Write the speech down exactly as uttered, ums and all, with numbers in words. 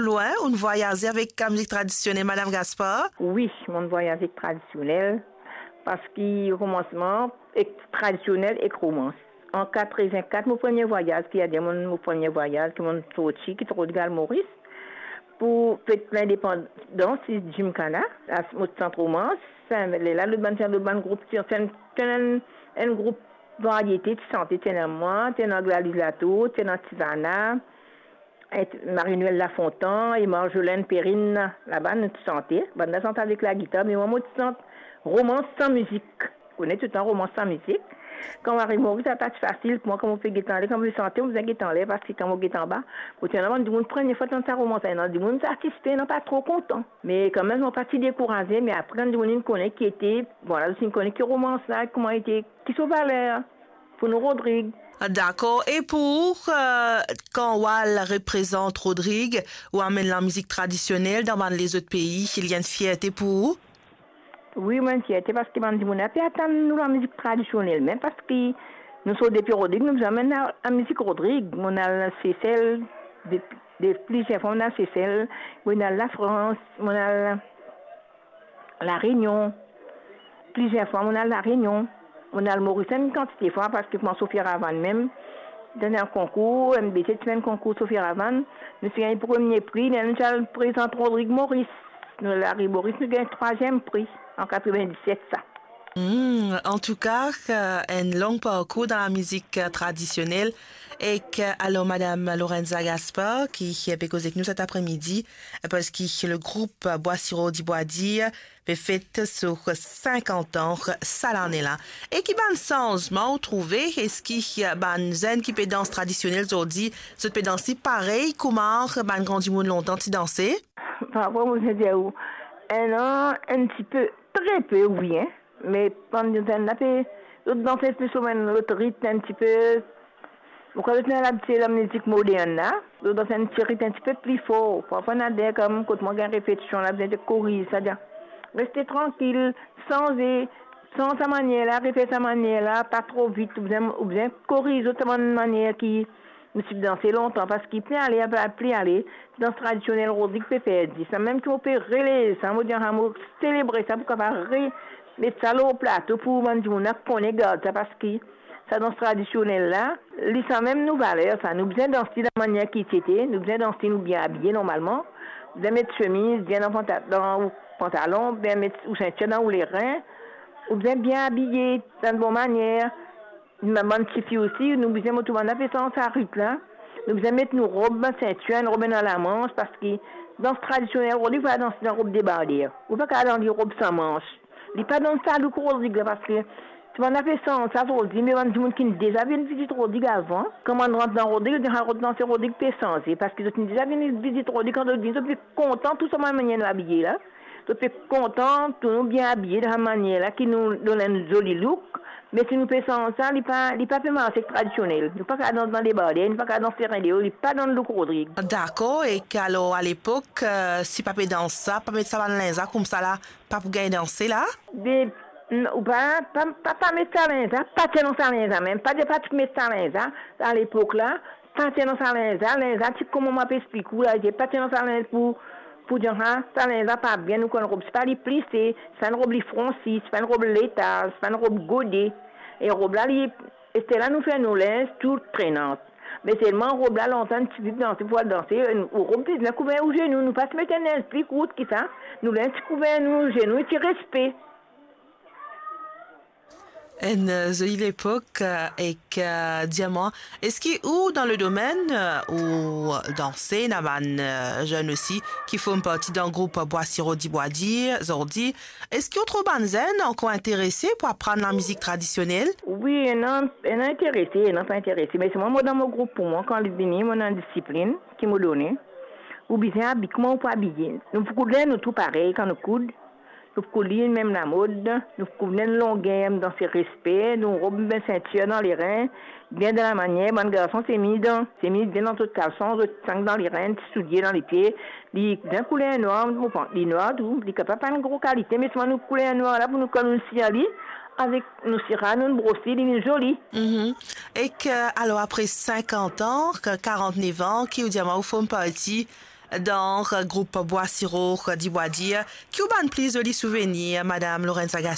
Lwin, ou'nn vwayaze avek, euh, mizik tradisionel, Madam Gaspard? Wi, mo'nn vwayaz ek tradisionel, parski o komansman, ek tradisionel ek romans. An katreven-kat, mo premie vwayaz ki adir mo'nn, mo premie vwayaz ki mo'nn sorti, ki Rodrig al Moris, pou fet lindepandans Gymkhana. As-, mo ti sant romans, lerla lot bann, lot bann group ti, ti enn, ti enn, enn group variete ti sante, ti ena mwa, ti ena Gladys Latour, ti ena Tivana, et Marie-Noëlle Lafontant e Marjolaine Perrine, laba nou ti sante. Bannla ti sant avek lagitar, me mwa mo ti sant romans san mizik. Kone toultan romans san mizik. Kan mo ariv Moris, sa pa ti fasil pou mwa, kan mo pe get anler, kan mo pe sante, mo bizin get anler, parski kan mo get anba, mo ti ena bann dimoun, premie fwa tann sa romans la, ena dimoun satisfe, ena pa tro kontan. Me kanmem, mo pa ti dekouraze, me apre, kan dimoun inn kone ki ete, bon, la, zot inn kone ki romans la, kouma ete, ki so valer pou nou Rodrig. Dakor. E pou ou, euh, kan ou al reprezant Rodrig, ou amenn lamizik tradisionel dan bann lezot pei, li enn fierte pou ou? Wi, mo enn fierte parski bann dimoun la pe atann nou lamizik tradisionel, me parski nou sort depi Rodrig, nou bizin amenn la, lamizik Rodrig. Mo'nn al Sesel, de, de plizier fwa mo'nn al Sesel, mo'nn al Lafrans, mo'nn al La Renion. Plizier fwa, mo'nn al La Renion. Mo'nn al Moris enn kantite fwa, parski kouma Sophie Ravanne mem, dan enn konkour, M B C ti fer enn konkour Sophie Ravanne, nou ti gagn premie pri, ler nou ti al prezant Rodrig Moris. Nou al ariv Moris, nou gagn trwaziem pri an katreven-diset sa. Hmm, antouka, euh, enn long parkour dan lamizik, euh, tradisionel. Ek, euh, alor, Madam Lorenza Gaspard, ki, euh, pe koz ek nou set apremidi, euh, parski le group, euh, Bwa Siro Dibwadir pe fet so sinkant an sa lane la. E ki bann sanzman ou trouve? Eski, euh, bann zenn ki pe dans tradisionel zordi, zot pe danse parey kouma bann gran dimoun lontan ti danse? Parfwa, mo dir ou, ena enn tipe, tre pe, wi, hein. Me bann zenn la pe, zot dans plis ou mwa lot ritm, enn tipe, mo krwar zot ena labitie lamizik modern la, zot dans enn ti ritm enn tipe pli for. Parfwa, ena de, kom kot mwa gagn repetision la, bizin koriz sa, dir, reste trankil, sanze, sanz sa manier la, refer sa manier la, pa tro vit, ou bizin, ou bizin koriz zot sa bann manier ki nou ti pe danse lontan, parski pli ale, pli ale, dans tradisionel Rodrig pe perdi. Samem ki mo pe rele sa, mo dir, ah, mo selebre sa pou kapav remet sa lor plato pou bann dimoun la kone gard sa, parski sa dans tradisionel la, li samem nou valer sa. Nou bizin dans li dan manier ki ti ete, nou bizin dans li, nou bien abiye normalman. Bizin met semiz bien dan panta-, dan ou pantalon, bien met ou sintir dan ou lerin, ou bizin bien abiye dan bon manier. Bann tifi osi, nou bizin, mo trouv bann la pe sanz sa rit la. Nou bizin met nou rob, sintir, enn rob ena lamanz, parski dans tradisionel Rodrig, pa dans dan rob debarder. Ou pa kapav dans li rob san manz. Li pa donn sa look Rodrig la, parski ti bann la pe sanz sa zordi, me bann dimoun ki deza vinn vizit Rodrig avan, kan bann rant dan Rodrig, dir, ah, rant dan se Rodrig pe sanze, parski zot inn deza vinn vizit Rodrig, kan zot vini, zot pe kontan tou sa manier nou abiye la. Zot pe kontan tou nou bien abiye dan manier la ki nou donn enn zoli look. Me si nou pe sanz sa, li pa, li pa pe mars ek tradisionel. Nou pa kapav dans dan debarder, nou pa kapav dans lerin deor, li pa donn look Rodrig. Dakor, ek alor, alepok, euh, si pa pe dans sa, pa met sa bann linz la koumsa la, pa pou gagn danse la? De, n-, ou pa, pa, pa, pa met sa linz la, pa tir dan sa linz la mem, pa dir pa ti met sa linz la, alepok la, pa tir dan sa linz la, linz la ti kouma mo pe explik ou la, pa tir dan sa linz pou, pou dir, ah, sa linz la pa bien, nou konn rob, se pa li plis, se, se pa enn rob li fronsi, se pa enn rob leta, se pa enn rob gode. E rob la, li, aster la nou fer nou linz tou trenan. Me selman rob la, lontan ti pe danse, pou al danse, ou rob bizin kouver ou zenou, nou pa ti met enn linz pli kourt ki sa, nou linz ti kouver nou zenou, ti respe. Enn, euh, zoli lepok, euh, ek, euh, Diamant. Eski ou dan le domenn, euh, ou danse, ena bann, euh, zenn osi ki form parti dan group Bwa Siro Dibwadir zordi, eski ou trouv bann zenn ankor interese pou aprann lamizik tradisionel? Wi, ena, ena interese, ena pa interese. Me selman mwa dan mo group pou mwa, kan li vini, mo ena disiplin ki mo done. Ou bizin abi-, kouma ou pou abiye. Nou pou koud linz nou tou parey kan nou koud. Nou pou koud li mem lamod, nou pou koud enn longer, dan se respe, nou rob bien sintir dan lerin, bien dan lamanier, bann garson semiz dan, semiz bien dan zot kalson, zot tang dan lerin, ti soulie dan lepie, li bien kouler nwar, nou pran, li nwar tou, li kapav pa enn gro kalite, me selman nou kouler nwar la pou nou, kan nou sir li, avek nou sira, nou bros li, li vinn zoli. Mhm. Ek, euh, alor, apre sinkant an, k-, karant-nef an, ki ou dir mwa ou form parti Dan group Bwa Siro di Bwa Dir, ki ou bann pli zoli souvenir, Madam Lorenza Gaspar?